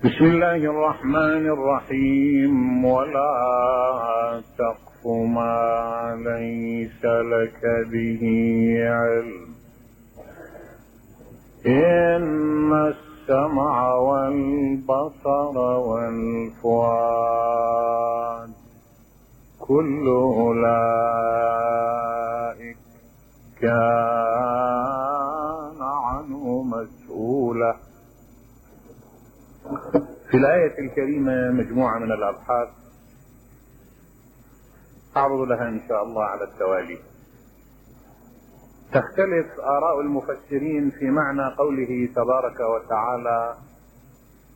بسم الله الرحمن الرحيم. ولا تقف ما ليس لك به علم إن السمع والبصر والفؤاد كل أولئك كان عنه مسؤولا. في الآية الكريمة مجموعة من الأبحاث أعرض لها إن شاء الله على التوالي. تختلف آراء المفسرين في معنى قوله تبارك وتعالى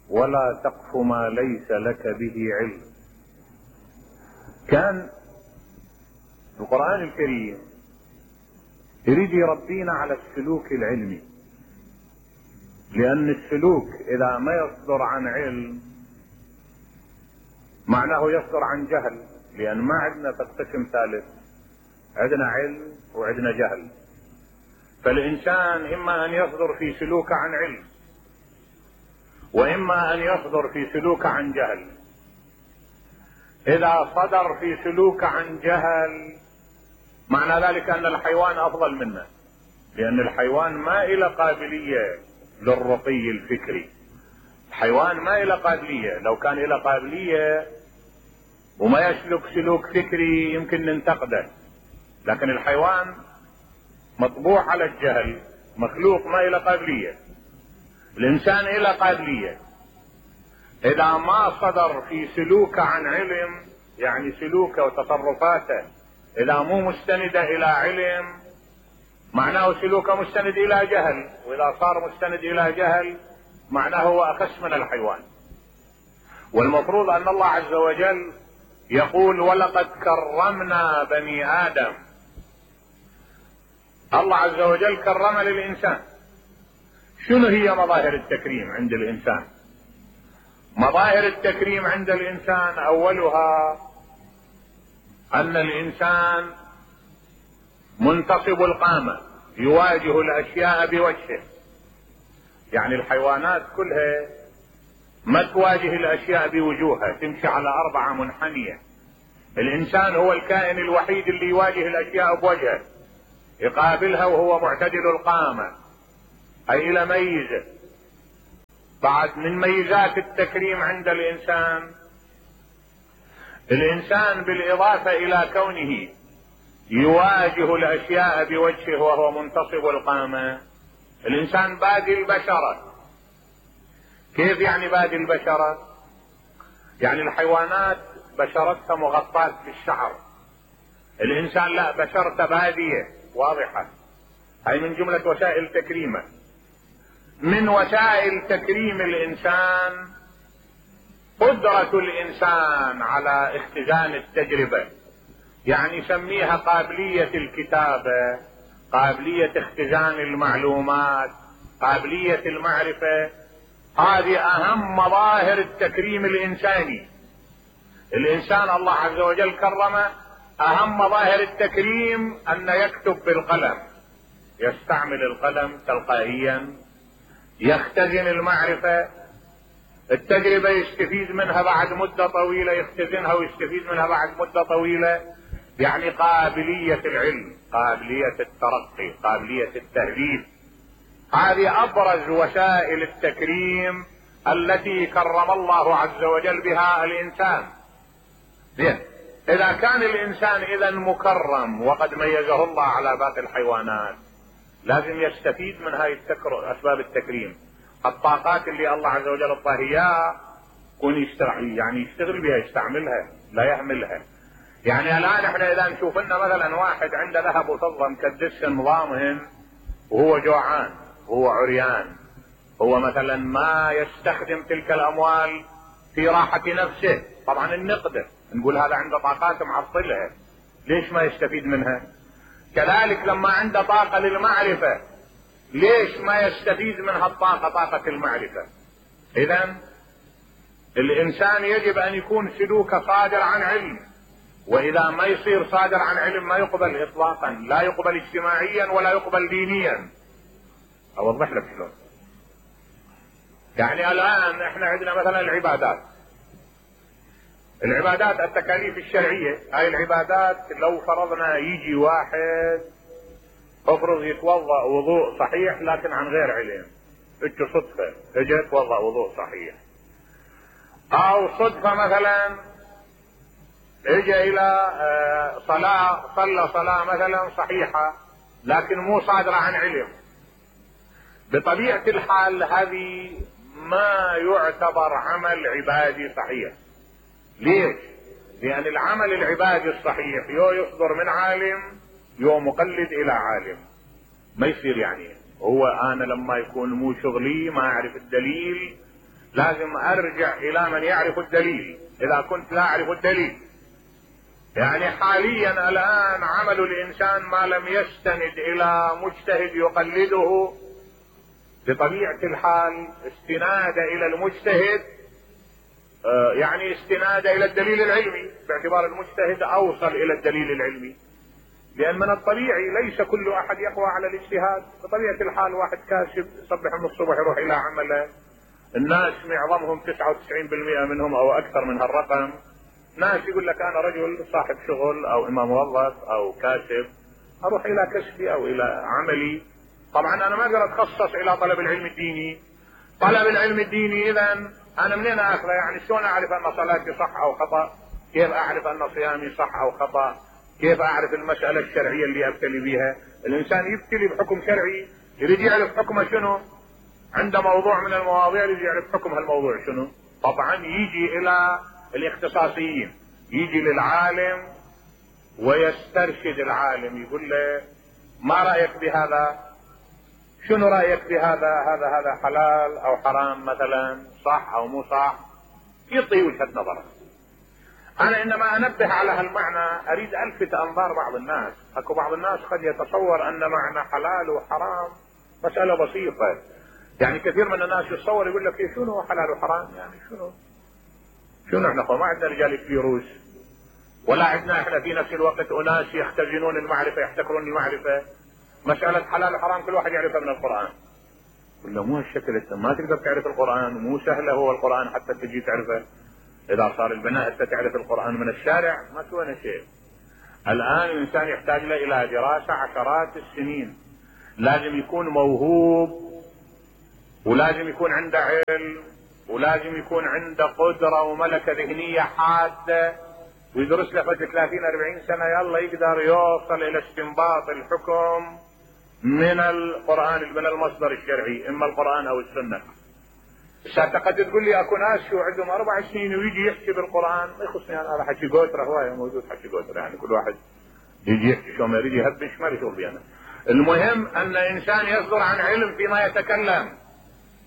ولا تقف ما ليس لك به علم. كان القرآن الكريم يريد يربينا على السلوك العلمي، لأن السلوك إذا ما يصدر عن علم معناه يصدر عن جهل، لأن ما عندنا قسم ثالث، عندنا علم وعندنا جهل. فالإنسان إما أن يصدر في سلوك عن علم، وإما أن يصدر في سلوك عن جهل. إذا صدر في سلوك عن جهل معنى ذلك أن الحيوان أفضل منا، لأن الحيوان ما إلى قابلية للرقي الفكري. الحيوان ما إلى قابلية، لو كان إلى قابلية وما يسلك سلوك فكري يمكن ننتقده، لكن الحيوان مطبوع على الجهل، مخلوق ما إلى قابلية. الإنسان إلى قابلية، إذا ما صدر في سلوك عن علم، يعني سلوكه وتصرفاته إذا مو مستندة إلى علم معناه سلوكه مستند إلى جهل، وإذا صار مستند إلى جهل معناه هو أخس من الحيوان. والمفروض أن الله عز وجل يقول ولقد كرمنا بني آدم. الله عز وجل كرم للإنسان. شنو هي مظاهر التكريم عند الإنسان؟ مظاهر التكريم عند الإنسان أولها أن الإنسان منتصب القامة، يواجه الأشياء بوجهه. يعني الحيوانات كلها ما تواجه الأشياء بوجوهها، تمشي على 4 منحنية. الإنسان هو الكائن الوحيد اللي يواجه الأشياء بوجهه، يقابلها وهو معتدل القامة، أي إلى ميزة. بعد من ميزات التكريم عند الإنسان بالإضافة إلى كونه يواجه الأشياء بوجهه وهو منتصب القامة، الإنسان بادي البشرة. كيف يعني بادي البشرة؟ يعني الحيوانات بشرتها مغطاة بالشعر، الإنسان لا، بشرته بادية واضحة. هاي من جملة وسائل تكريمه. من وسائل تكريم الإنسان قدرة الإنسان على اختزان التجربة، يعني يسميها قابلية الكتابة، قابلية اختزان المعلومات، قابلية المعرفة. هذه أهم مظاهر التكريم الإنساني. الإنسان الله عز وجل كرمه، أهم مظاهر التكريم أن يكتب بالقلم، يستعمل القلم تلقائيا، يختزن المعرفة، التجربة يستفيد منها بعد مدة طويلة، يختزنها ويستفيد منها بعد مدة طويلة. يعني قابلية العلم، قابلية الترقي، قابلية التهذيب. هذه أبرز وسائل التكريم التي كرم الله عز وجل بها الإنسان. إذا كان الإنسان إذا مكرم وقد ميزه الله على باقي الحيوانات، لازم يستفيد من هاي أسباب التكريم. الطاقات اللي الله عز وجل اعطاها اياها يكون يشتغل بها، يستعملها، لا يهملها. يعني الآن احنا إذا نشوف لنا مثلا واحد عنده ذهب وفضة مكدس نظامهن وهو جوعان، هو عريان، هو مثلا ما يستخدم تلك الأموال في راحة نفسه، طبعا النقدة نقول هذا عنده طاقات معطلها، ليش ما يستفيد منها؟ كذلك لما عنده طاقة للمعرفة، ليش ما يستفيد من هالطاقة، طاقة المعرفة؟ إذن الإنسان يجب أن يكون سلوكه صادر عن علم، وإذا ما يصير صادر عن علم ما يقبل إطلاقا، لا يقبل اجتماعيا ولا يقبل دينيا. أوضح لك شلون. يعني الان احنا عندنا مثلا العبادات التكاليف الشرعية، هاي العبادات لو فرضنا يجي واحد افرض يتوضأ وضوء صحيح لكن عن غير علم، اجى صدفة اجى يتوضأ وضوء صحيح، او صدفة مثلا اجى الى صلى صلاة مثلا صحيحة لكن مو صادرة عن علم، بطبيعة الحال هذه ما يعتبر عمل عبادي صحيح. ليش؟ لان العمل العبادي الصحيح يو يصدر من عالم يو مقلد الى عالم، ما يصير يعني هو انا لما يكون مو شغلي ما اعرف الدليل لازم ارجع الى من يعرف الدليل اذا كنت لا اعرف الدليل. يعني حاليا الان عمل الانسان ما لم يستند الى مجتهد يقلده بطبيعة الحال استناد الى المجتهد، يعني استناد الى الدليل العلمي، باعتبار المجتهد اوصل الى الدليل العلمي. لان من الطبيعي ليس كل احد يقوى على الاجتهاد، بطبيعة الحال واحد كاسب يصبح من الصبح يروح الى عمله، الناس معظمهم 99% منهم او اكثر من هالرقم ناس يقول لك انا رجل صاحب شغل او اما موظف او كاسب اروح الى كسبي او الى عملي. طبعا انا ما اقدر اتخصص الى طلب العلم الديني. طلب العلم الديني اذا انا منين اخذه؟ يعني شلون اعرف ان صلاتي صح او خطأ؟ كيف اعرف ان صيامي صح او خطأ؟ كيف اعرف المسألة الشرعية اللي ابتلي بها؟ الانسان يبتلي بحكم شرعي يريد يعرف حكمه شنو، عنده موضوع من المواضيع يريد يعرف حكم هالموضوع شنو. طبعا يجي الى الاختصاصيين، يجي للعالم ويسترشد العالم يقول له ما رأيك بهذا؟ شنو رأيك بهذا؟ هذا حلال او حرام مثلا، صح او مو صح؟ يعطي وجهة نظره. انا انما انبه على هالمعنى اريد الفت انظار بعض الناس. اكو بعض الناس قد يتصور ان معنى حلال وحرام مسألة بسيطة، يعني كثير من الناس يتصور يقول لك إيه شنو حلال وحرام؟ يعني شنو احنا ما عندنا رجال فيروس، ولا عندنا احنا في نفس الوقت اناس يختزنون المعرفة يحتكرون المعرفة. مسألة حلال وحرام كل واحد يعرفها من القرآن. ولا مو هالشكل، انت ما تقدر تعرف القرآن، مو سهلة هو القرآن حتى تجي تعرفه. اذا صار البناء انت تعرف القرآن من الشارع ما سوينا شيء. الان الانسان يحتاج له الى دراسة عشرات السنين، لازم يكون موهوب ولازم يكون عنده علم ولازم يكون عنده قدرة وملكة ذهنية حادة، ويدرس له 30-40 سنة يلا يقدر يوصل الى استنباط الحكم من القرآن، من المصدر الشرعي اما القرآن او السنة. قد تقول لي اكو ناس شو عندهم 4 سنين ويجي يحكي بالقرآن، ما يخصني انا، هذا حكي قوتره هواية موجود حكي قوتره، يعني كل واحد يجي يحكي شو ما يريد يهبش ما يشغل بي انا. المهم ان انسان يصدر عن علم فيما يتكلم،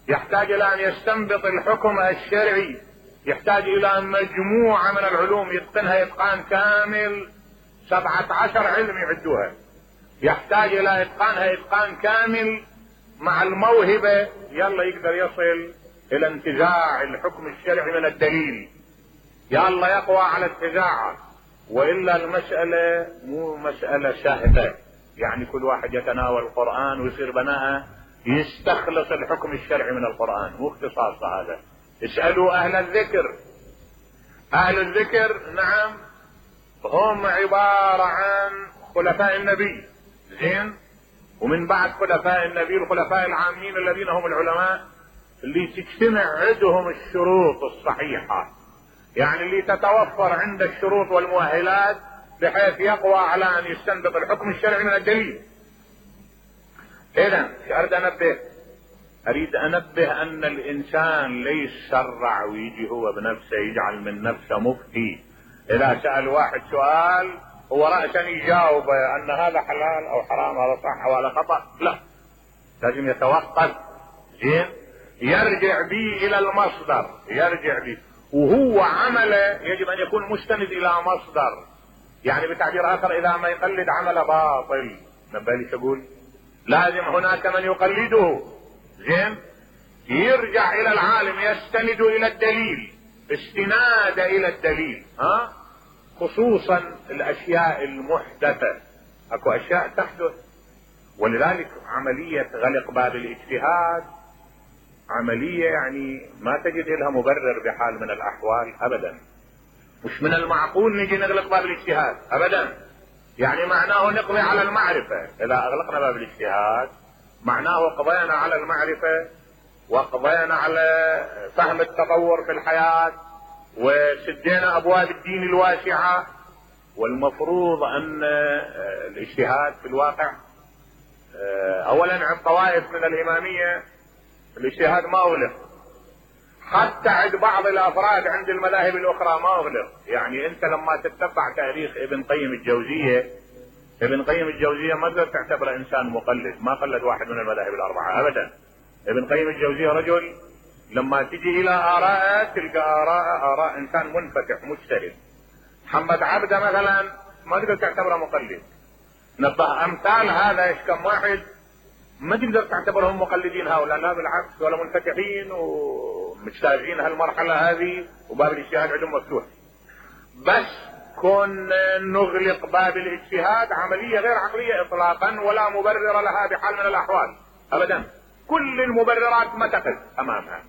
يحتاج الى ان يستنبط الحكم الشرعي، يحتاج الى مجموعة من العلوم يتقنها اتقان كامل، 17 علم يعدوها، يحتاج الى اتقانها اتقان كامل مع الموهبة يلا يقدر يصل الى انتزاع الحكم الشرعي من الدليل، يلا يقوى على انتزاعه. والا المسألة مو مسألة سهلة، يعني كل واحد يتناول القرآن ويصير بناءه يستخلص الحكم الشرعي من القرآن، مو اختصاص هذا. اسألوا اهل الذكر. اهل الذكر نعم هم عبارة عن خلفاء النبي، زين، ومن بعد خلفاء النبي الخلفاء العامين الذين هم العلماء اللي تجتمع عندهم الشروط الصحيحة، يعني اللي تتوفر عند الشروط والمؤهلات بحيث يقوى على ان يستنبط الحكم الشرعي من الدليل. اذا اريد انبه ان الانسان ليس يسرع ويجي هو بنفسه يجعل من نفسه مفتي. اذا سأل واحد سؤال هو رأسا يجاوب ان هذا حلال او حرام، هذا صح او هذا خطأ، لا، لازم يتوقف، زين، يرجع به الى المصدر، يرجع به، وهو عمله يجب ان يكون مستند الى مصدر. يعني بتعبير اخر اذا ما يقلد عمل باطل، نبالي شو لازم هناك من يقلده، زين، يرجع الى العالم يستند الى الدليل، استناد الى الدليل، خصوصا الاشياء المحدثة. اكو اشياء تحدث، ولذلك عملية غلق باب الاجتهاد عملية يعني ما تجد لها مبرر بحال من الأحوال أبدا. مش من المعقول نجي نغلق باب الاجتهاد أبدا. يعني معناه نقضي على المعرفة. إذا أغلقنا باب الاجتهاد معناه قضينا على المعرفة وقضينا على فهم التطور في الحياة وسدينا أبواب الدين الواسعة. والمفروض أن الاجتهاد في الواقع أولا عند طوائف من الإمامية الاجتهاد ما أغلق، حتى عند بعض الأفراد عند المذاهب الأخرى ما أغلق. يعني أنت لما تتبع تاريخ ابن قيم الجوزية، ابن قيم الجوزية ما تقدر تعتبره إنسان مقلد، ما قلد واحد من المذاهب الأربعة أبدا. ابن قيم الجوزية رجل لما تجي إلى آراءه تلقى آراء إنسان منفتح مجتهد. محمد عبده مثلا ما تقدر تعتبره مقلد. نبه أمثال هذا إيش كم واحد ما تقدر تعتبرهم مقلدين هؤلاء، لا بالعكس ولا منفتحين ومجتازين هالمرحلة هذه وباب الاجتهاد عندهم مفتوح. بس كون نغلق باب الاجتهاد عملية غير عقلية إطلاقا ولا مبرر لها بحال من الأحوال أبدا. كل المبررات ما تقف أمامها.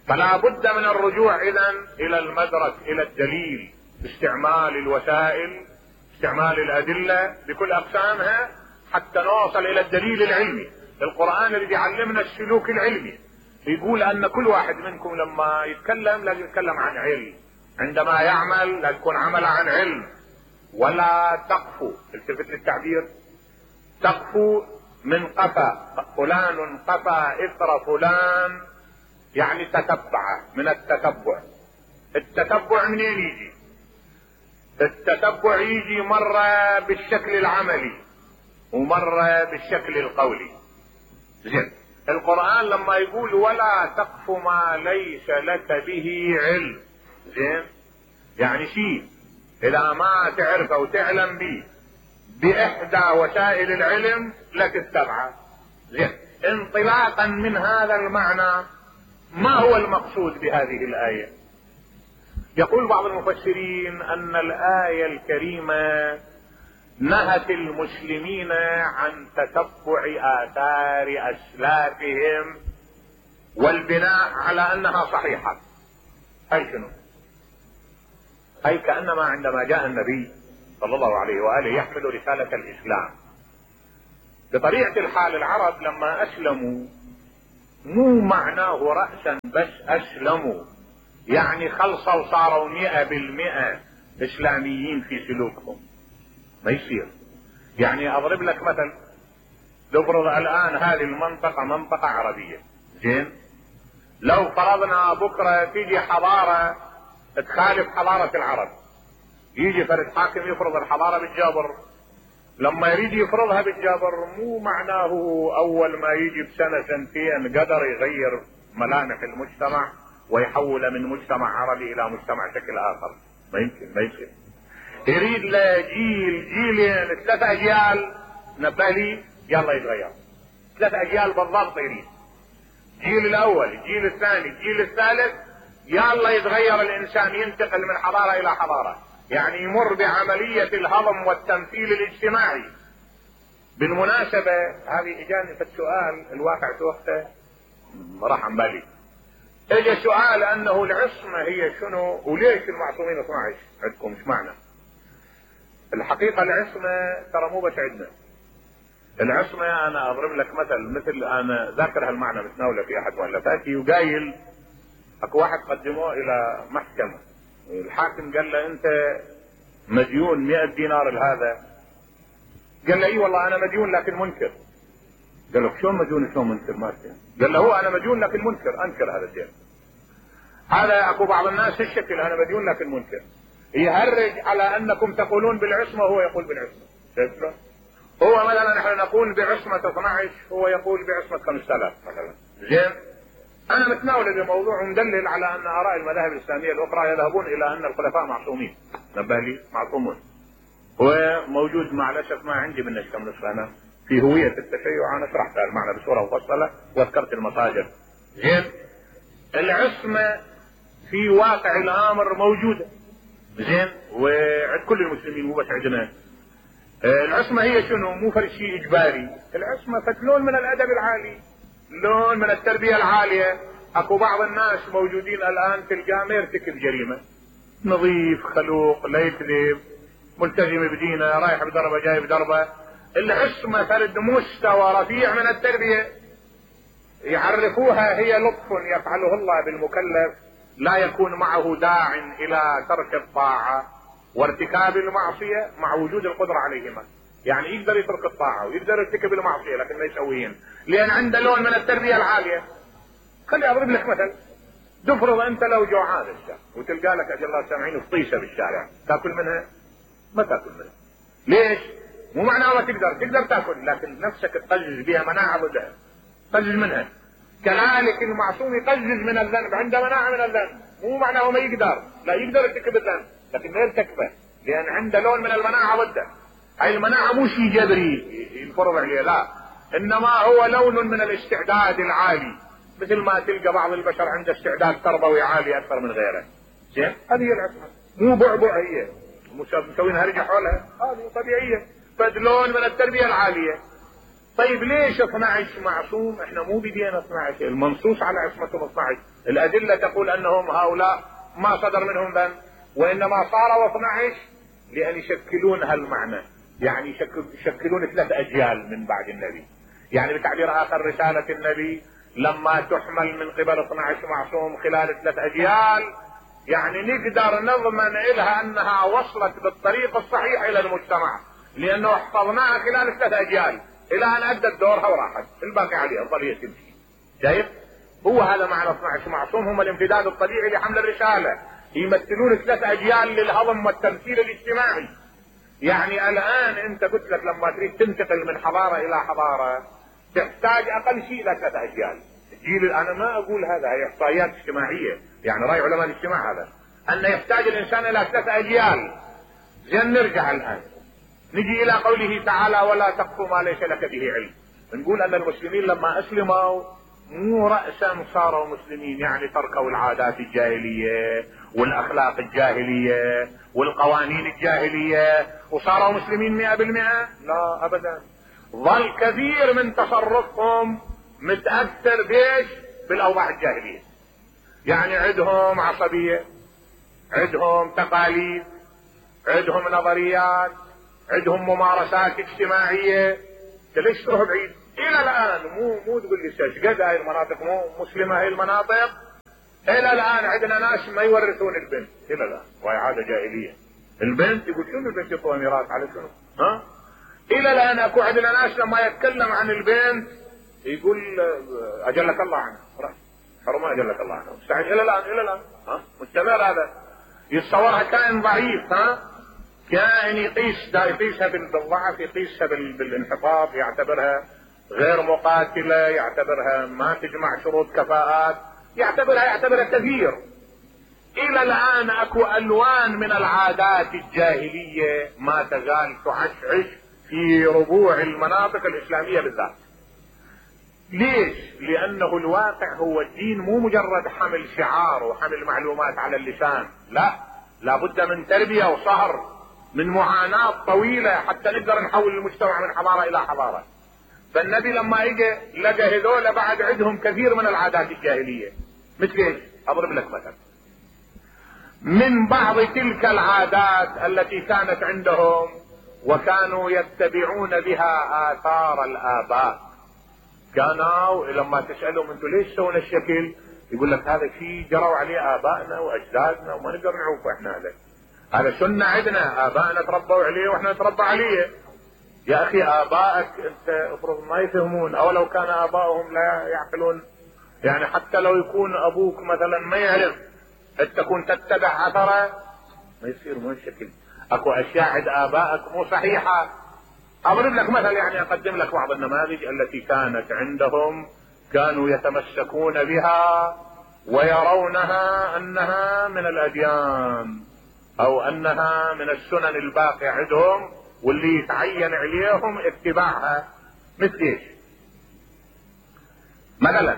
فلا بد من الرجوع إذن إلى المدرك، إلى الدليل، باستعمال الوسائل، استعمال الأدلة بكل أقسامها حتى نوصل إلى الدليل العلمي. القرآن اللي بيعلمنا السلوك العلمي يقول أن كل واحد منكم لما يتكلم لازم يتكلم عن علم، عندما يعمل لازم يكون عمل عن علم. ولا تقفوا، التفت للتعبير، تقفوا من قفا، فلان قفا إثر فلان يعني تتبع، من التتبع. التتبع منين يجي؟ التتبع يجي مرة بالشكل العملي ومرة بالشكل القولي. زين، القرآن لما يقول ولا تقف ما ليس لك به علم، زين، يعني شيء إذا ما تعرفه وتعلم به بإحدى وسائل العلم لا تتبعه. زين، انطلاقا من هذا المعنى ما هو المقصود بهذه الآية؟ يقول بعض المفسرين أن الآية الكريمة نهت المسلمين عن تتبع آثار أسلافهم والبناء على أنها صحيحة. أي شنو؟ أي كأنما عندما جاء النبي صلى الله عليه وآله يحمل رسالة الإسلام، بطبيعة الحال العرب لما أسلموا مو معناه رأسا بس أسلموا، يعني خلصوا وصاروا 100% إسلاميين في سلوكهم. ما يصير. يعني أضرب لك مثل، نفرض الآن هذه المنطقة منطقة عربية، زين، لو فرضنا بكرة تيجي حضارة تخالف حضارة العرب، يجي فرد حاكم يفرض الحضارة بالجابر، لما يريد يفرضها بالجابر مو معناه أول ما يجي بسنة سنتين قدر يغير ملامح المجتمع ويحول من مجتمع عربي إلى مجتمع شكل آخر. ما يمكن، ما يصير. يريد له جيلين 3 أجيال، نبه لي يلا يتغير 3 أجيال بالضبط. يريد الجيل الأول، الجيل الثاني، الجيل الثالث، يلا يتغير الإنسان، ينتقل من حضارة إلى حضارة، يعني يمر بعملية الهضم والتمثيل الاجتماعي. بالمناسبة هذه إجاني في السؤال الواقع في وقته راح عن بالي، اجى سؤال أنه العصمة هي شنو وليش المعصومين 12 عندكم؟ ايش معنى؟ الحقيقة العصمة ترى مو بس عندنا. العصمة أنا أضرب لك مثل أنا ذاكر هالمعنى متناوله في أحد مؤلفاتي، وقايل أكو واحد قدموه إلى محكمة، الحاكم قال له أنت مديون 100 دينار لهذا، قال له اي والله أنا مديون لكن منكر. قال له شلون مديون شلون منكر؟ ما فهم. قال له هو أنا مديون لكن منكر، أنكر هذا الدين. هذا أكو بعض الناس الشكل، أنا مديون لكن منكر، يهرج على أنكم تقولون بالعصمة وهو يقول بالعصمة. شايف له؟ هو مثلا نحن نقول بعصمة 12 هو يقول بعصمة 5000 مثلا. زين، أنا متناول بموضوع مدلل على أن آراء المذاهب الإسلامية الأخرى يذهبون إلى أن الخلفاء معصومين. نبه لي معصومون. هو موجود مع الأسف ما عندي منه كم نسخة أنا في هوية التشيع، أنا شرحت المعنى بصورة مفصلة وذكرت المصادر. زين، العصمة في واقع الأمر موجودة، زين، وعند كل المسلمين مو بس عندنا. العصمة هي شنو؟ مو فرق شيء إجباري، العصمة فتلون من الأدب العالي. لون من التربية العالية. اكو بعض الناس موجودين الان تلقاه ما يرتكب جريمة، نظيف خلوق لا يكذب، ملتزم بدينه، رايح بدربه جاي بدربه، اللي عصمه فرد مستوى رفيع من التربية يعرفوها هي لطف يفعله الله بالمكلف، لا يكون معه داع الى ترك الطاعة وارتكاب المعصية مع وجود القدرة عليهما. يعني يقدر يترك الطاعة ويقدر يرتكب المعصية لكن ما يسويهن لان عنده لون من التربية العالية. خلي اضرب لك مثل، تفرض انت لو جوعان وتلقى لك اجل الله سامعين فطيشة بالشارع، تاكل منها؟ ما تاكل منها. ليش؟ مو معناه ما تقدر تاكل، لكن نفسك تقزز بها مناعة ضدها، تقزز منها. كذلك المعصوم يقزز من الذنب، عنده مناعة من الذنب، مو معناه ما يقدر، لا يقدر يرتكب الذنب لكن ما يرتكبه لان عنده لون من المناعة ضده. هاي المناعة مو شيء جبري ينفرض عليه، لا، انما هو لون من الاستعداد العالي، مثل ما تلقى بعض البشر عنده استعداد تربوي عالي اكثر من غيره. زين، هذه هي العصمة، مو بعبع، هي مسوين هرجة حولها، هذه طبيعية، فلون من التربية العالية. طيب ليش 12 معصوم؟ احنا مو بدينا 12، المنصوص على عصمتهم 12، الادلة تقول انهم هؤلاء ما صدر منهم ذنب، وانما صاروا 12 لان يشكلون هالمعنى، يعني يشكلون 3 اجيال من بعد النبي. يعني بتعبير اخر رسالة النبي لما تحمل من قبل 12 معصوم خلال 3 اجيال، يعني نقدر نضمن لها انها وصلت بالطريق الصحيح الى المجتمع، لانه حفظناها خلال 3 اجيال الى ان ادت دورها وراحت، الباقي عليها الظلية تمشي. شايف؟ هو هذا معنى 12 معصوم، هم الامتداد الطبيعي لحمل الرسالة، يمثلون 3 اجيال للهضم والتمثيل الاجتماعي. يعني الان انت قلت لك لما تريد تنتقل من حضارة الى حضارة تحتاج اقل شيء الى 3 اجيال. الجيل، انا ما اقول هذا، هي احصائيات اجتماعية، يعني راي علماء الاجتماع هذا، ان يحتاج الانسان الى 3 اجيال. زين، نرجع الان نجي الى قوله تعالى ولا تقف ما ليس لك به علم. نقول ان المسلمين لما اسلموا مو رأسا صاروا مسلمين، يعني تركوا العادات الجاهلية والاخلاق الجاهلية والقوانين الجاهلية وصاروا مسلمين 100%، لا ابدا. ظل كثير من تصرفهم متأثر بيش؟ بالاوضاع الجاهلية. يعني عندهم عصبية، عندهم تقاليد، عندهم نظريات، عندهم ممارسات اجتماعية. ليش تروح بعيد؟ الى الان مو تقول لي قد هاي المناطق مو مسلمة، هاي المناطق الى الان عندنا ناس ما يورثون البنت الى الان، وهي عادة جاهلية. البنت يقول شنو البنت يعطوها ميراث على شنو؟ ها؟ الى الان اكو عندنا ناس لما يتكلم عن البنت يقول اجلك الله عنها، حرمة اجلك الله عنها، مستعد الى الان ها؟ مستمر هذا، يتصورها كائن ضعيف، ها؟ كائن يقيسها بالضعف، يقيسها بالانحطاط، يعتبرها غير مقاتلة، يعتبرها ما تجمع شروط كفاءات، يعتبرها كثير. الى الان اكو الوان من العادات الجاهلية ما تزال تعشعش في ربوع المناطق الاسلامية بالذات. ليش؟ لانه الواقع هو الدين مو مجرد حمل شعار وحمل معلومات على اللسان، لا، لابد من تربية وصهر، من معاناة طويلة حتى نقدر نحول المجتمع من حضارة الى حضارة. فالنبي لما اجى لقى هذول بعد عندهم كثير من العادات الجاهلية. مثل ايش؟ اضرب لك مثلا، من بعض تلك العادات التي كانت عندهم وكانوا يتبعون بها آثار الآباء. كانوا لما تسألهم انتوا ليش سوينا الشكل؟ يقول لك هذا شيء جروا عليه آبائنا وأجدادنا وما نقدر نعوفه احنا، هذا سنة عندنا، آبائنا تربوا عليه واحنا نتربى عليه. يا أخي آبائك أنت افرض ما يفهمون، أو لو كان آبائهم لا يعقلون، يعني حتى لو يكون أبوك مثلا ما يعرف تكون تتبع أثره، ما يصير مو الشكل. أكو أشياء عند آبائك مو صحيحة. أضرب لك مثل، يعني أقدم لك بعض النماذج التي كانت عندهم، كانوا يتمسكون بها ويرونها أنها من الأديان أو أنها من السنن الباقية عندهم واللي يتعين عليهم اتباعها. مثل ايش؟ مثلا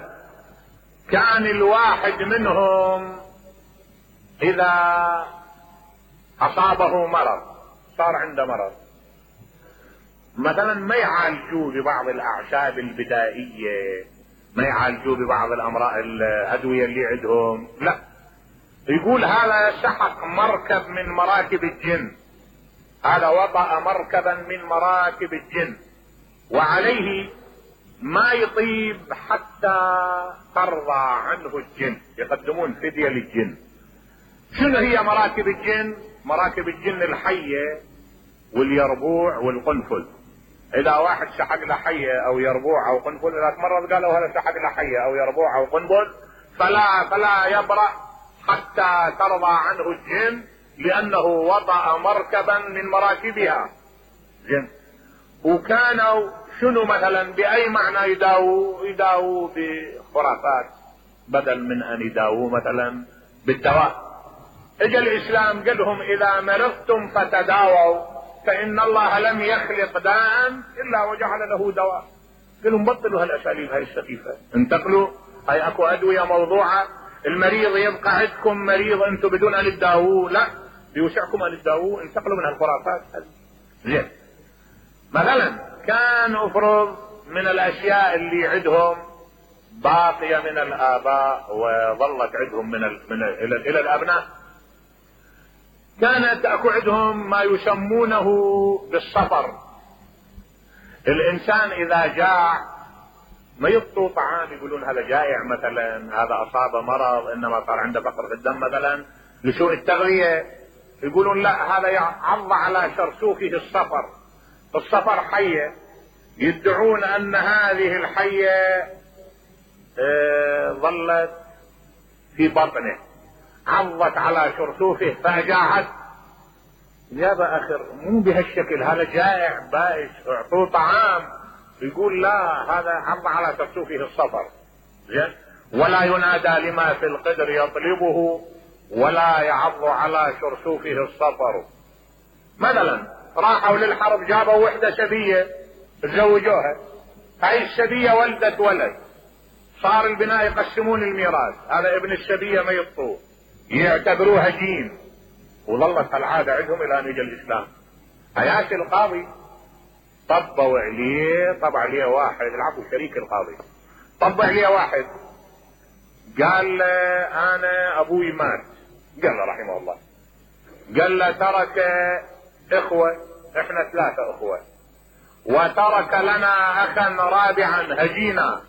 كان الواحد منهم اذا اصابه مرض، صار عنده مرض مثلا، ما يعالجوه ببعض الاعشاب البدائية ما يعالجوه ببعض الامراض الادوية اللي عندهم، لا، يقول هذا سحق مركب من مراكب الجن، هذا وطأ مركبا من مراكب الجن وعليه ما يطيب حتى ترضى عنه الجن، يقدمون فدية للجن. شنو هي مراكب الجن؟ مراكب الجن الحية واليربوع والقنفل. اذا واحد سحق له حية او يربوع او قنفل، اذا مرة قالوا هذا سحق له حية او يربوع او قنفل فلا يبرأ حتى ترضى عنه الجن، لانه وطأ مركبا من مراكبها جن. وكانوا شنو مثلا باي معنى يداووا بخرافات بدل من ان يداووا مثلا بالدواء. اجى الاسلام قال لهم اذا مرضتم فتداووا فان الله لم يخلق داء الا وجعل له دواء. قال لهم بطلوا هالاساليب هاي السخيفه، انتقلوا، هاي اكو ادويه موضوعه، المريض يبقى عندكم مريض انتم بدون ان تداووه، لا، بيوسعكم ان تداووه، انتقلوا من هالخرافات. زين، مثلا كان افرض من الاشياء اللي عندهم باقيه من الاباء وظلت عندهم من الى الابناء، كانت اكو عندهم ما يسمونه بالصفر. الانسان اذا جاع ما يعطوا طعام، يقولون هذا جائع مثلا، هذا اصاب مرض انما صار عنده فقر في الدم مثلا لسوء التغذيه، يقولون لا، هذا عض على شرسوفه الصفر. الصفر حية، يدعون ان هذه الحية ظلت في بطنه، عضت على شرسوفه فاجاعت. يا باخر مو بهالشكل، هذا جائع بائس، اعطوه طعام. يقول لا، هذا عض على شرسوفه الصفر. زين، ولا ينادى لما في القدر يطلبه ولا يعض على شرسوفه الصفر. مثلا راحوا للحرب، جابوا وحدة شبية تزوجوها، هاي الشبية ولدت ولد، صار البناء يقسمون الميراث، هذا ابن الشبية ما يطوه، يعتبروه هجين، وظلت العادة عندهم الى ان يجي الاسلام. حياة القاضي طبوا عليه، طبع عليه واحد، العفو شريك القاضي، طبع عليه واحد قال له انا ابوي مات، قال له رحمه الله، قال له ترك اخوة، احنا 3 اخوة، وترك لنا اخا رابعا هجينا.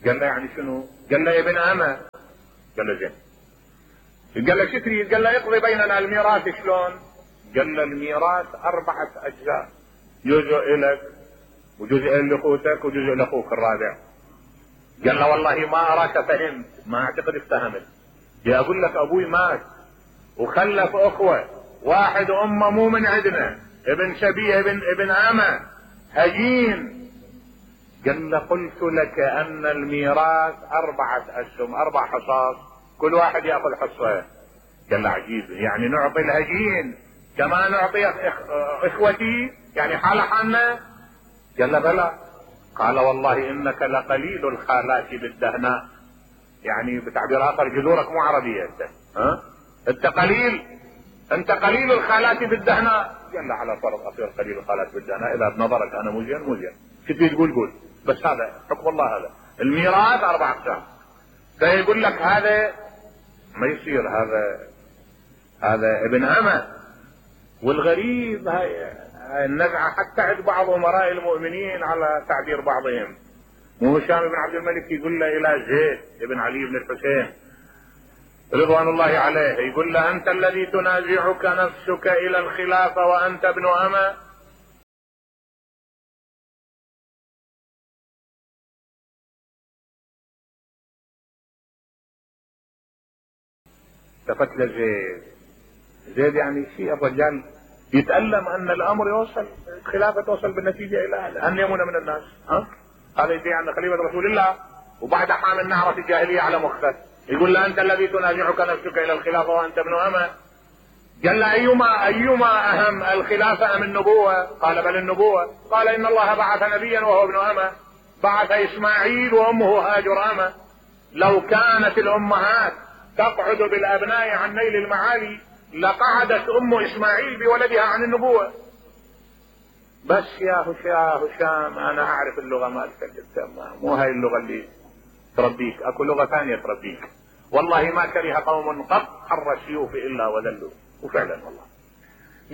قال له يعني شنو؟ قال له ابن اما. قال له زين. قال له شو تريد؟ قال له اقضي بيننا الميراث. شلون؟ قال له الميراث 4 اجزاء، جزء لك وجزء لاخوتك وجزء لاخوك الرابع. قال له والله ما اراك فهمت، ما اعتقد افتهمت، يا اقول لك ابوي مات وخلف اخوة، واحد امه مو من عندنا، ابن شبيه ابن اما هجين. قال له قلت لك ان الميراث 4 اسهم، 4 حصص، كل واحد ياخذ حصه. قال له عجيب، يعني نعطي الهجين كما نعطي اخوتي، يعني حالة حالنا؟ قال له بلى. قال والله انك لقليل الخالات بالدهناء، يعني بتعبير اخر جذورك مو عربية انت، ها؟ انت قليل الخالات بالدهناء. قال له على فرض اصير قليل الخالات بالدهناء، اذا بنظرك انا مو زين، شو تبي تقول قول، بس هذا حكم الله. هذا الميراث 4 اقسام، فيقول لك هذا ما يصير، هذا ابن اما. والغريب هاي النزعة حتى عند بعض امراء المؤمنين على تعبير بعضهم، مو هشام بن عبد الملك يقول له الى زيد بن علي بن الحسين رضوان الله عليه، يقول له انت الذي تنازعك نفسك الى الخلافة وانت ابن اما. التفت زيد يعني شيء، الرجال يتألم ان الامر يوصل، الخلافة توصل بالنتيجة الى هذا، ان يمون من الناس، هذا يدعي ان خليفة رسول الله وبعد حامل نعرة الجاهلية على مخفى، يقول له انت الذي تنازعك نفسك الى الخلافة وانت ابن اما. قال له ايما اهم، الخلافة ام النبوة؟ قال بل النبوة. قال ان الله بعث نبيا وهو ابن اما، بعث اسماعيل وامه هاجر اما. لو كانت الامهات تقعد بالابناء عن نيل المعالي لقعدت ام اسماعيل بولدها عن النبوة. بس يا هشام انا اعرف اللغة مالتك انت، مو هاي اللغة اللي تربيك، اكو لغة ثانية تربيك. والله ما كره قوم قط حر السيوف الا وذلوا. وفعلا والله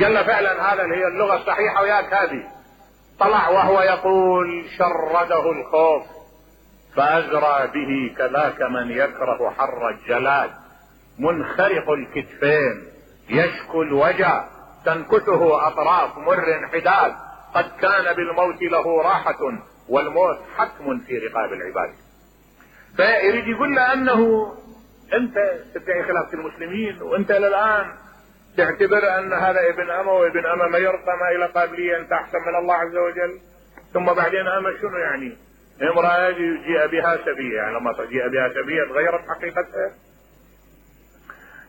قال له فعلا هذا هي اللغة الصحيحة وياك هذه. طلع وهو يقول شرده الخوف فأجرى به كذاك من يكره حر الجلاد، منخرق الكتفين يشكو الوجع تنكته أطراف مر حداد، قد كان بالموت له راحة والموت حتم في رقاب العباد. فيريد يقول له أنه أنت تدعي خلافة المسلمين وأنت الآن تعتبر أن هذا ابن أما وابن أما ما يرقى إلى قابلية أنت أحسن من الله عز وجل. ثم بعدين أما شنو يعني؟ امرأة جيء بها سبية، يعني لما جيء بها سبية تغيرت حقيقتها.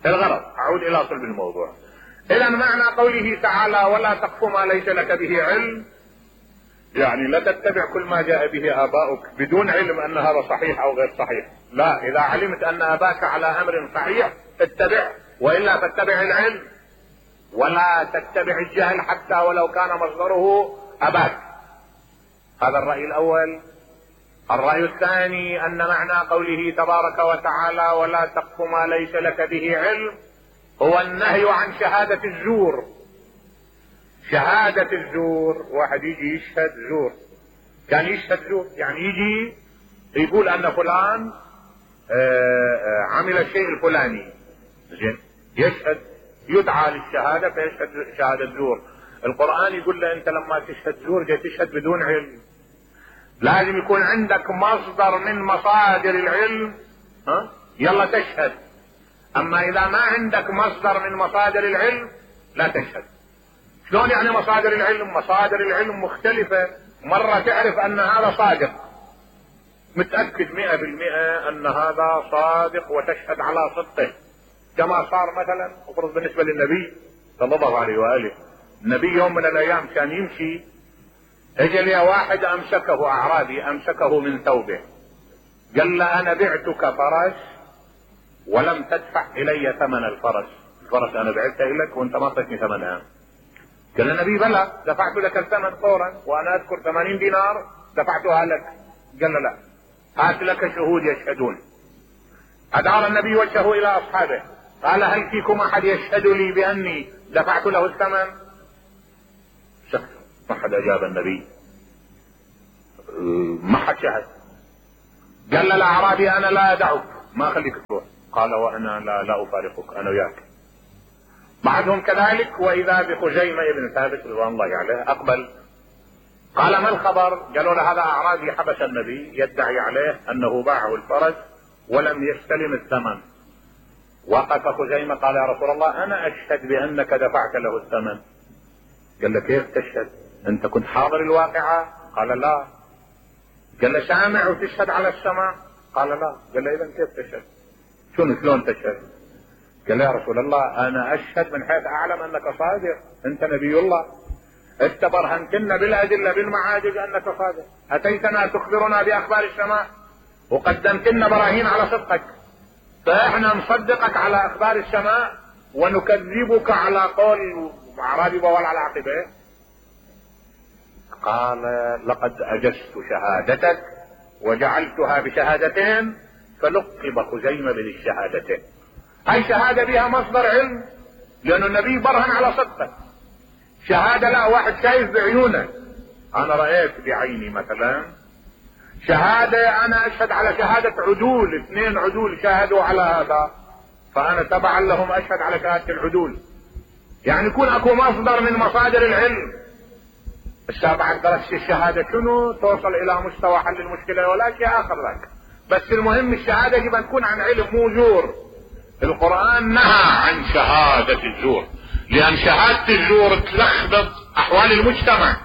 الغرض أعود إلى صلب الموضوع. إذا معنى قوله تعالى ولا تقف ما ليس لك به علم، يعني لا تتبع كل ما جاء به آباؤك بدون علم أن هذا صحيح أو غير صحيح. لا، إذا علمت أن أباك على أمر صحيح اتبع، وإلا فاتبع العلم ولا تتبع الجهل حتى ولو كان مصدره أباك. هذا الرأي الأول. الرأي الثاني أن معنى قوله تبارك وتعالى ولا تقف ما ليس لك به علم هو النهي عن شهادة الزور. شهادة الزور، واحد يجي يشهد زور، كان يشهد زور يعني يجي يقول أن فلان عمل الشيء الفلاني، زين، يشهد، يدعى للشهادة فيشهد شهادة زور. القرآن يقول له أنت لما تشهد زور جاي تشهد بدون علم، لازم يكون عندك مصدر من مصادر العلم، يلا تشهد. أما إذا ما عندك مصدر من مصادر العلم لا تشهد. شلون يعني مصادر العلم؟ مصادر العلم مختلفة. مرة تعرف أن هذا صادق، متأكد 100% أن هذا صادق وتشهد على صدقه، كما صار مثلا افرض بالنسبة للنبي صلى الله عليه وآله. النبي يوم من الأيام كان يمشي، اجى لي واحد أمسكه، أعرابي أمسكه من ثوبه، قال له أنا بعتك فرس ولم تدفع إلي ثمن الفرس. الفرس أنا بعته لك وأنت ما أعطيتني ثمنها. قال النبي بلى، دفعت لك الثمن فورا وأنا أذكر 80 دينار دفعتها لك. قال له لا، هات لك شهود يشهدون. أدار النبي وجهه إلى أصحابه قال هل فيكم أحد يشهد لي بأني دفعت له الثمن؟ سكت، ما حد أجاب النبي، ما حد شهد. قال للأعرابي أنا لا أدعك، ما أخليك تروح. قال وأنا لا أفارقك، أنا وياك. بعدهم كذلك، وإذا بخزيمة ابن ثابت رضوان الله عليه أقبل، قال ما الخبر؟ قالوا له هذا أعرابي حبس النبي يدعي عليه أنه باعه الفرس ولم يستلم الثمن. وقف خزيمة قال يا رسول الله أنا أشهد بأنك دفعت له الثمن. قال له كيف تشهد؟ أنت كنت حاضر الواقعة؟ قال لا. قال له سامع وتشهد على السماع؟ قال لا. قال له إذن كيف تشهد؟ شلون تشهد؟ قال له يا رسول الله أنا أشهد من حيث أعلم أنك صادق، أنت نبي الله، أنت برهنتنا بالأدلة بالمعاجز أنك صادق، أتيتنا تخبرنا بأخبار السماء وقدمت لنا براهين على صدقك، فإحنا نصدقك على أخبار السماء ونكذبك على قول أعرابي بوال على عقبه. قال لقد أجزت شهادتك وجعلتها بشهادتين، فلقب خزيمة بالشهادتين. هاي شهادة بها مصدر علم، لأن النبي برهن على صدقه. شهادة لا، واحد شايف بعيونه، أنا رأيت بعيني مثلا. شهادة أنا أشهد على شهادة عدول، 2 عدول شاهدوا على هذا، فأنا تبعا لهم أشهد على شهادة العدول. يعني يكون أكو مصدر من مصادر العلم. بعد درس الشهادة شنو توصل إلى مستوى حل المشكلة ولا شيء آخر لك، بس المهم الشهادة يجب أن تكون عن علم مو زور. القرآن نهى عن شهادة الزور، لأن شهادة الزور تلخبط أحوال المجتمع،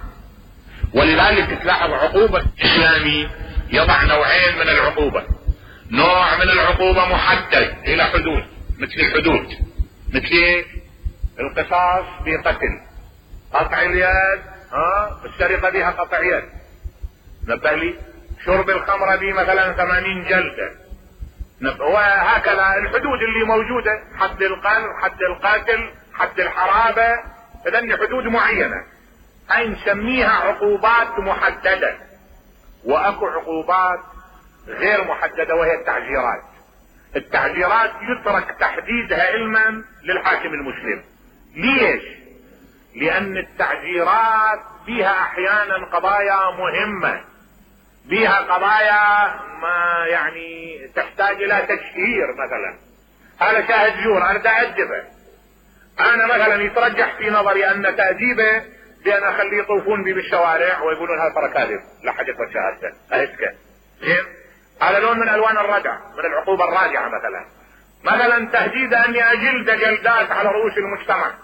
ولذلك تلاحظ عقوبة الإسلامي يضع نوعين من العقوبة. نوع من العقوبة محدد إلى حدود، مثل الحدود، مثل القصاص بقتل، قطع اليد، السرقة بها قطع يد، نبه لي، شرب الخمر به مثلا 80 جلدة، وهكذا الحدود اللي موجودة، حد القذف، حد القتل، حد الحرابة، إذن حدود معينة. هاي نسميها عقوبات محددة، واكو عقوبات غير محددة وهي التعزيرات. التعزيرات يترك تحديدها علما للحاكم المسلم. ليش؟ لان التعزيرات بها احيانا قضايا مهمة، بها قضايا ما يعني تحتاج الى تشهير. مثلا هذا شاهد زور انا اتأدبه، انا مثلا يترجح في نظري ان تأديبه بان اخليه يطوفون بي بالشوارع ويقولون هذا ترى كاذب لا حد يقبل شهادته اهسكه. زين، هذا لون من الوان الردع، من العقوبة الراجعة. مثلا تهديد اني اجلد جلدات على رؤوس المجتمع.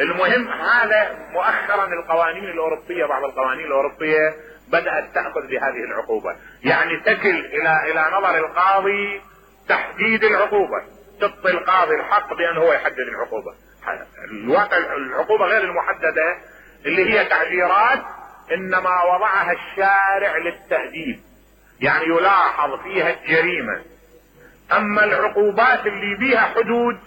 المهم هذا مؤخرا القوانين الاوروبية، بعض القوانين الاوروبية بدأت تأخذ بهذه العقوبة، يعني تكل الى نظر القاضي تحديد العقوبة، تعطي القاضي الحق بان هو يحدد العقوبة. الواقع العقوبة غير المحددة اللي هي تعزيرات انما وضعها الشارع للتأديب، يعني يلاحظ فيها الجريمة. اما العقوبات اللي بيها حدود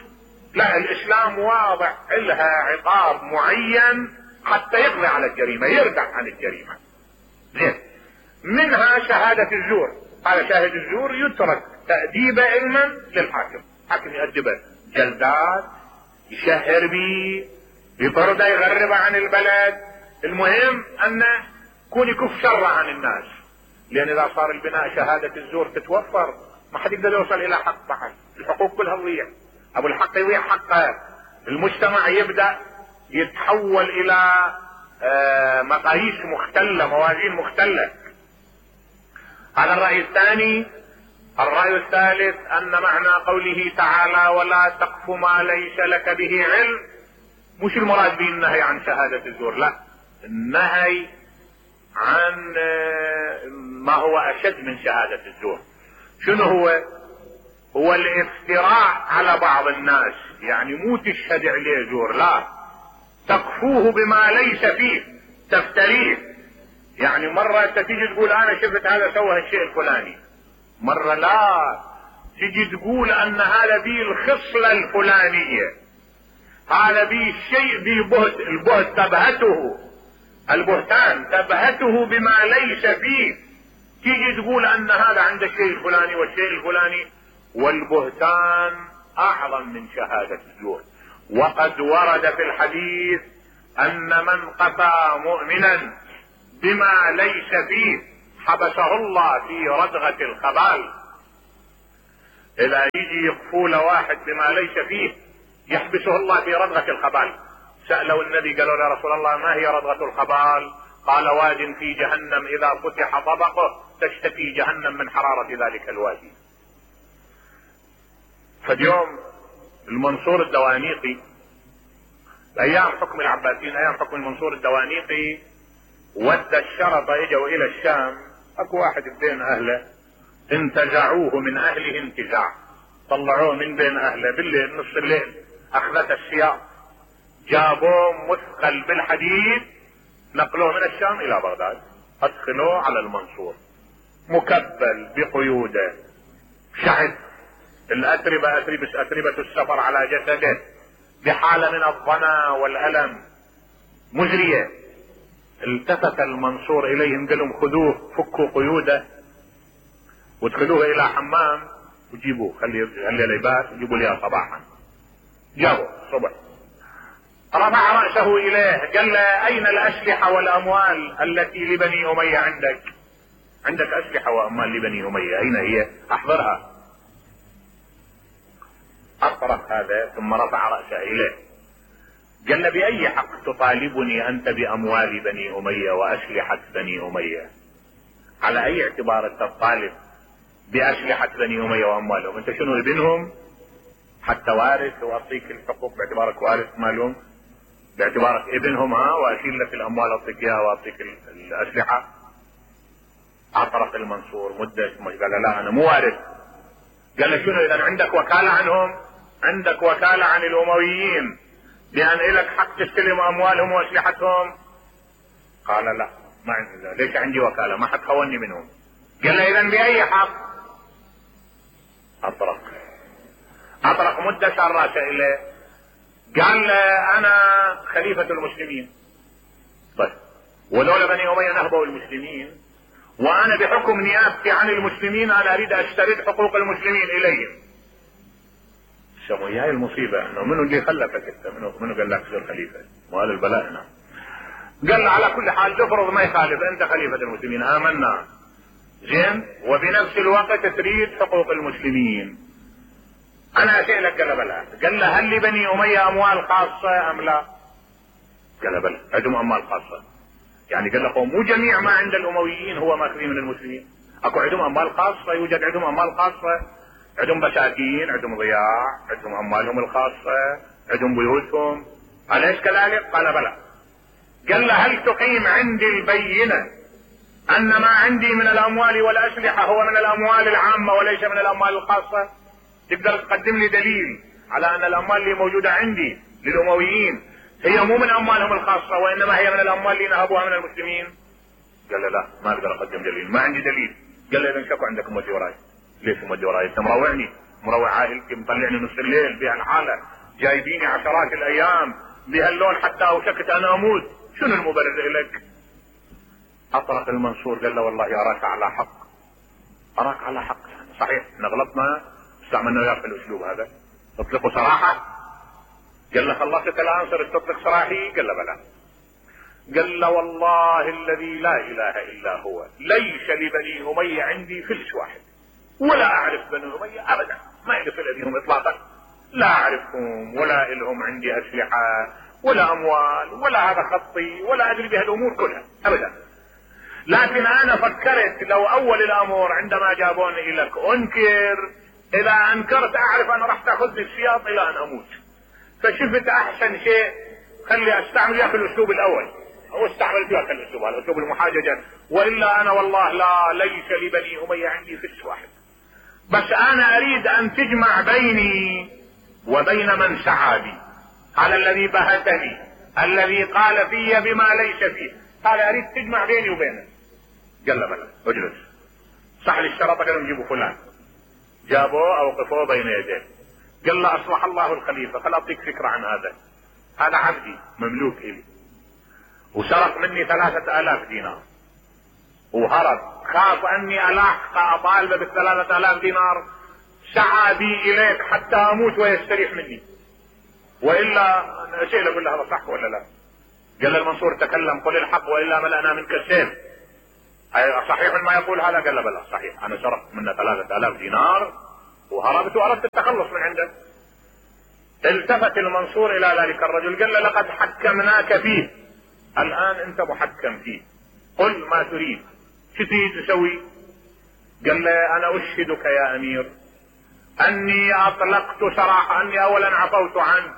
لا، الاسلام واضع لها عقاب معين حتى يقضي على الجريمة، يردع عن الجريمة. زين، منها شهادة الزور. هذا شاهد الزور يترك تأديبه علما للحاكم، حاكم يأدبه جلدات، يشهر بيه، يطرده، يغربه عن البلد. المهم انه يكون يكف شره عن الناس، لان اذا صار البناء شهادة الزور تتوفر ما حد يقدر يوصل الى حق بعد، الحقوق كلها تضيع، ابو الحق يضيع حقه، المجتمع يبدأ يتحول الى مقاييس مختلة، موازين مختلة. هذا الرأي الثاني. الرأي الثالث ان معنى قوله تعالى ولا تقف ما ليس لك به علم، مش المراد به النهي عن شهادة الزور، لا، النهي عن ما هو اشد من شهادة الزور. شنو هو الافتراء على بعض الناس، يعني مو تشهد عليه زور، لا، تقفوه بما ليس فيه، تفتريه. يعني مرة انت تيجي تقول انا شفت هذا سوى الشيء الفلاني، مرة لا، تيجي تقول ان هذا بيه الخصلة الفلانية، هذا بيه الشيء بيه بهت، البهت تبهته، البهتان تبهته بما ليس فيه، تيجي تقول ان هذا عنده الشيء الفلاني والشيء الفلاني، والبهتان اعظم من شهادة الزور. وقد ورد في الحديث ان من قفى مؤمنا بما ليس فيه حبسه الله في ردغة الخبال. اذا يجي يقفوا له واحد بما ليس فيه يحبسه الله في ردغة الخبال. سألوا النبي قالوا يا رسول الله ما هي ردغة الخبال؟ قال واد في جهنم اذا فتح طبقه تشتكي جهنم من حرارة ذلك الوادي. فاليوم المنصور الدوانيقي ايام حكم العباسيين، ايام حكم المنصور الدوانيقي، ودى الشرطة اجوا الى الشام، اكو واحد بين اهله انتزعوه من اهله انتزاع، طلعوه من بين اهله بالليل نص الليل، اخذت السياق، جابوه مثقل بالحديد، نقلوه من الشام الى بغداد، ادخلوه على المنصور مكبل بقيوده، شعث، الاتربة اتربة السفر على جسده، بحالة من الظنا والالم مزرية. التفت المنصور اليهم قال لهم خذوه فكوا قيوده وادخلوه الى حمام وجيبوه، خلي لباس وجيبوا لي صباحا. جابوا الصبح، رفع رأسه اليه قال له اين الاسلحة والاموال التي لبني امية عندك اسلحة واموال لبني امية، اين هي؟ احضرها. اطرق هذا ثم رفع رأسه اليه قال له باي حق تطالبني انت باموال بني امية واسلحة بني امية؟ على اي اعتبار انت تطالب باسلحة بني امية واموالهم؟ انت شنو ابنهم حتى وارث واعطيك الحقوق باعتبارك وارث مالهم، باعتبارك ابنهم واشيل لك الاموال اعطيك اياها واعطيك الاسلحة؟ اعترف المنصور مدة ثم قال لا انا مو وارث. قال له شنو اذا عندك وكالة عنهم؟ عندك وكالة عن الامويين بان لك حق تستلم اموالهم واسلحتهم؟ قال لا ما عندي، ليش عندي وكالة؟ ما حد خوني منهم. قال له اذا باي حق؟ اطرق مدة شار راسه اليه، قال له انا خليفة المسلمين طيب ولولا بني اميه نهبوا المسلمين، وانا بحكم نيابتي عن المسلمين انا اريد اشترط حقوق المسلمين اليهم. شو هي المصيبه انه منو اللي خلفك انت؟ منو قال لك تصير خليفه؟ وهذا البلاء هنا. قال على كل حال تفرض ما يخالف انت خليفه المسلمين، امنا زين، وبنفس الوقت تريد حقوق المسلمين. انا اسالك قال بلى. قال له هل لبني اميه اموال خاصه ام لا؟ قال بلى عندهم اموال خاصه. يعني قال له مو جميع ما عند الامويين هو ماخذين من المسلمين، اكو عندهم اموال خاصه، يوجد عندهم اموال خاصه، عندهم بساتين، عندهم ضياع، عندهم اموالهم الخاصه، عندهم بيوتهم، اليس كذلك؟ قال بلى. قال له هل تقيم عندي البينه ان ما عندي من الاموال والاسلحه هو من الاموال العامه وليس من الاموال الخاصه؟ تقدر تقدم لي دليل على ان الاموال اللي موجوده عندي للامويين هي مو من اموالهم الخاصه وانما هي من الاموال اللي نهبوها من المسلمين؟ قال له لا ما اقدر اقدم دليل، ما عندي دليل. قال له اذا شكو عندك مودي وراي. ليش مودي وراي؟ انت مروعني، مروع عائلتي، مطلعني نص الليل بهالحاله، جايبيني عشرات الايام بهاللون حتى اوشكت انا اموت، شنو المبرر لك؟ اطرق المنصور قال له والله اراك على حق، اراك على حق، صحيح احنا غلطنا استعملنا وياك في الاسلوب هذا، تطلقوا صراحه. قال له خلصت الان صرت تطلق صراحي؟ قال له بلى. قال له والله الذي لا اله الا هو ليس لبني اميه عندي فلس واحد، ولا اعرف بني اميه ابدا، ما عندي صله بهم اطلاقا، لا اعرفهم ولا لهم عندي اسلحه ولا اموال ولا هذا خطي ولا ادري بهالامور كلها ابدا. لكن انا فكرت لو اول الامر عندما جابوني لك انكر، اذا انكرت اعرف انا راح تاخذني السياط الى ان اموت، فشفت احسن شيء خلي استعمل وياك الاسلوب الاول، او استعمل وياك الاسلوب هذا اسلوب المحاججه، والا انا والله لا ليس لبني اميه عندي فلس واحد، بس انا اريد ان تجمع بيني وبين من سعى بي، على الذي بهتني الذي قال في بما ليس فيه، قال اريد تجمع بيني وبينه. قال له بلى اجلس، صح لي الشرطه، قالوا نجيبوا فلان، جابوه اوقفوه بين يديه، قال له اصلح الله الخليفه، خل اعطيك فكره عن هذا عبدي مملوك الي، وسرق مني 3000 دينار وهرب، خاف اني الاحق اطالبه ب3000 دينار، سعى بي اليك حتى اموت ويستريح مني، والا شيء اقول له هذا صح ولا لا؟ قال المنصور تكلم قل الحق والا ملأنا منك السيف، صحيح ما يقول هذا؟ قال له بلى صحيح، انا سرقت منه 3000 دينار وهربت واردت التخلص من عنده. التفت المنصور الى ذلك الرجل قال له لقد حكمناك فيه، الان انت محكم فيه، قل ما تريد، شو تريد تسوي؟ قال له انا اشهدك يا امير اني اطلقت سراحه، اني اولا عفوت عنه،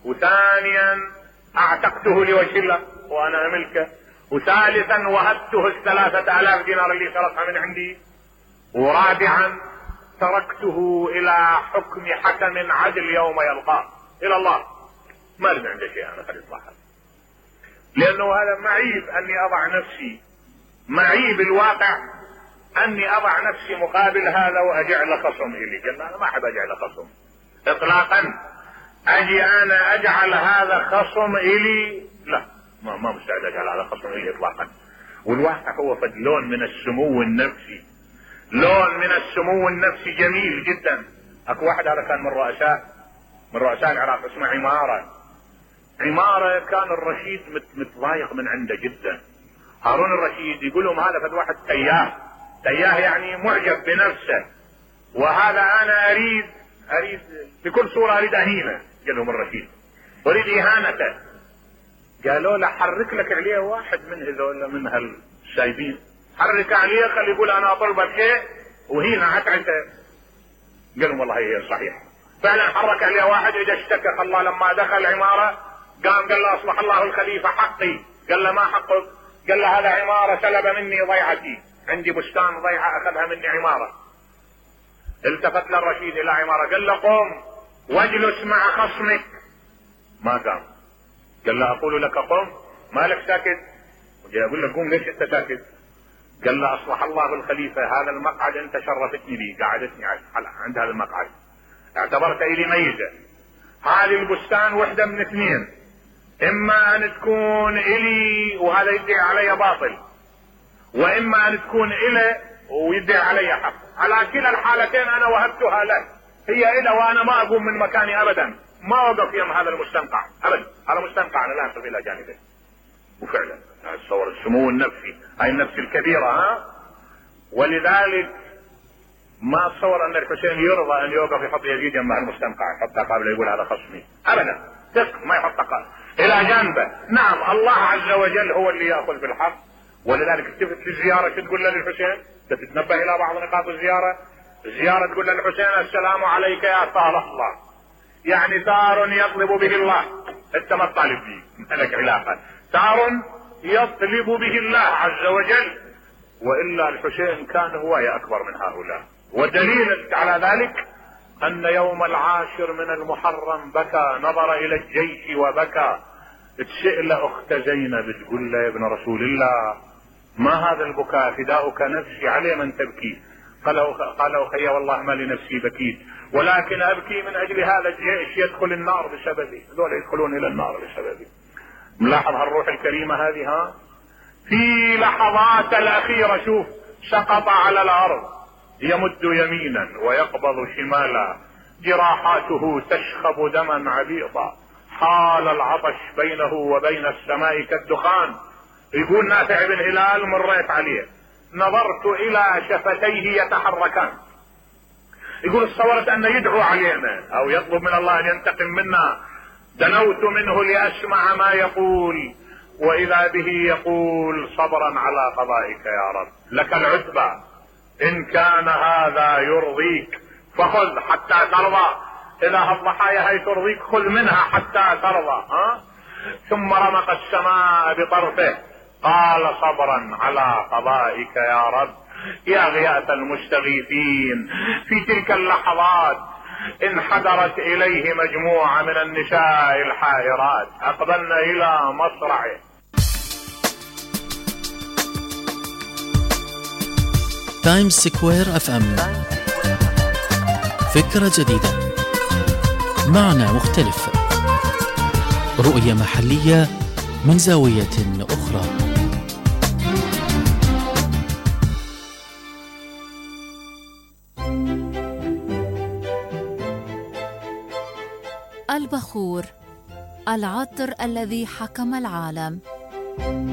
وثانيا اعتقته لوجه الله وانا ملكه، وثالثا وهبته 3000 دينار اللي سرقها من عندي، ورابعا تركته الى حكم حكم عدل يوم يلقاه الى الله، ما لم عنده شيء انا خلي يطلع، لانه هذا معيب اني اضع نفسي، معيب الواقع اني اضع نفسي مقابل هذا واجعل خصم الي. قال انا ما احب اجعل خصم اطلاقا، اجي انا اجعل هذا خصم الي، لا ما مستعد اجعل هذا خصم الي اطلاقا. والواقع هو فد لون من السمو النفسي، لون من السمو النفسي جميل جدا. اكو واحد هذا كان من رؤساء العراق اسمه عمارة كان الرشيد متضايق من عنده جدا. هارون الرشيد يقول لهم هذا فد واحد تياه يعني معجب بنفسه، وهذا انا اريد بكل صورة اريد اهينه. قال لهم الرشيد اريد اهانته. قالوا له حرك لك عليه واحد من هذول من هالسايبين، حرك عليه خلي يقول انا اطلبك شيء وهينا اتعسى. قال لهم والله هي صحيح، فعلا حرك عليه واحد، اجى اشتكى الله لما دخل العمارة قام قال له اصلح الله الخليفة حقي. قال له ما حقك؟ قال له هذا عمارة سلب مني ضيعتي، عندي بستان ضيعة اخذها مني عمارة. التفت للرشيد الى عمارة قال له قم واجلس مع خصمك، ما قام. قال له اقول لك قم، مالك ساكت؟ وجاي اقول لك قوم ليش انت ساكت؟ قال له اصلح الله الخليفة هذا المقعد انت شرفتني به، قعدتني عند هذا المقعد، اعتبرت الي ميزة، هذه البستان وحدة من اثنين، اما ان تكون الي وهذا يدعي علي باطل، واما ان تكون الي ويدعي علي حق. على كلا الحالتين انا وهبتها له، هي الى وانا ما اقوم من مكاني ابدا، ما اوقف يم هذا المستنقع ابدا. هذا مستنقع انا لا انصف الى جانبه. وفعلا اتصور السمو النفسي، هاي النفس الكبيره ولذلك ما اتصور ان الحسين يرضى ان يوقف يحط يزيد مع المستنقع، يحطها قبل يقول هذا خصمي ابدا، ما يحطها الى جانبه. نعم الله عز وجل هو اللي ياخذ بالحق، ولذلك التفت في الزياره شو تقول للحسين؟ تتنبه الى بعض نقاط الزياره. الزياره تقول للحسين السلام عليك يا ثار الله، يعني ثار يطلب به الله، انت ما تطالب به، ما لك علاقه، ثار يطلب به الله عز وجل، والا الحسين كان هوايه اكبر من هؤلاء. ودليل على ذلك ان يوم 10 من المحرم بكى، نظر الى الجيش وبكى. تسأل اخت زينب تقول له يا ابن رسول الله ما هذا البكاء؟ فداؤك نفسي على من تبكي؟ قال اخي والله ما لنفسي بكيت، ولكن ابكي من اجل هذا الجيش يدخل النار بسببي، هذول يدخلون الى النار بسببي. ملاحظ هالروح الكريمه هذه في لحظات الاخيره. شوف سقط على الارض يمد يمينا ويقبض شمالا، جراحاته تشخب دما عبيطا، حال العطش بينه وبين السماء كالدخان. يقول نافع بن هلال مريت عليه نظرت الى شفتيه يتحركان، يقول تصورت ان يدعو علينا او يطلب من الله ان ينتقم منا. دنوت منه لاسمع ما يقول، واذا به يقول صبرا على قضائك يا رب، لك العتبى، ان كان هذا يرضيك فخذ حتى ترضى، اذا الضحايا هي ترضيك خذ منها حتى ترضى. ثم رمق السماء بطرفه قال صبرا على قضائك يا رب. يا غياث المستغيثين، في تلك اللحظات انحدرت اليه مجموعة من النساء الحائرات، اقبلن الى مصرعه. تايمز سكوير اف ام، فكرة جديدة، معنى مختلف، رؤية محلية من زاوية أخرى. البخور، العطر الذي حكم العالم.